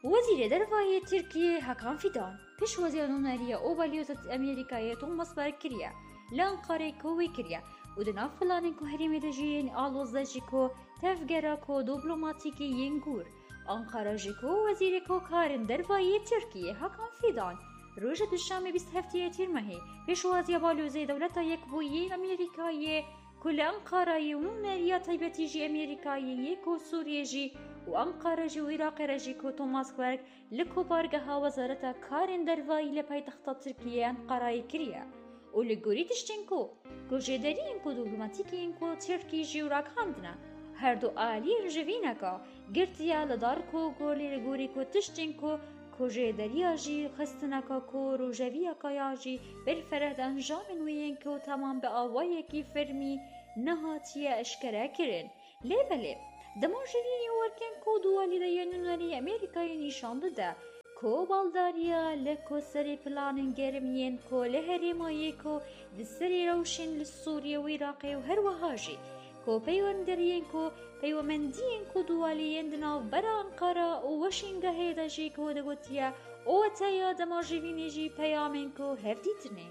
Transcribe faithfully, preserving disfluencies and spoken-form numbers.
Wezîrê Derva yê Tirkiyê Hakan Fidan pêşwaziya nûneriya û balyoza Amerîkayê Thomas Berg kiriye li Anqarê ku wê kiriye û di nav planên ku herêmê de jî yên aloz de jî ku tevgera ku dîplomatîkî yên gûr. Anqara jî ku wezîrê ku karên derva yê Tirkiyê Hakan Fidan roja Duşemê bîst heftê Tîrmehê pêşwaziya balyozê Dewleta Yekbûyî yên Amerîkayê ku li Enqarayê û nûneriya taybetî jî Amerîkayê yê ku Sûriyê jî û Enqara jî û Iraqê re jî ku Thomas Berg li kopargeha Wezareta Karên Dervayî li paytexta Tirkiyê Enqarayê kiriye û li gorî tiştên ku ku jêderiyên ku dîplomatîkên ku Tirkî jî û ragihandine her du aliyên ji vîneka girtiye li dar ku ku lê li gorî ku tiştên ku ku jêderiya jî xistineka ku rojeviyeka ya jî berfereh di encamên wê yên ku temam bi awayekî fermî nehatiye eşkere kirin. Lê belê, dema ji vî werkên ku duwalî de yên nûnerî Amerîkayê nîşan dide ku baldariya li ku serê planên germ yên ku li herêma yê ku di serê rewşên li Sûriyê û Iraqê û her wiha jî ku peywenderiyên ku peywemendiyên ku duwalî yên di navbera Enqara û Weşîngehê de jî ku digotiye û weteya dema ji vînê jî peyamên ku hevdîtinê.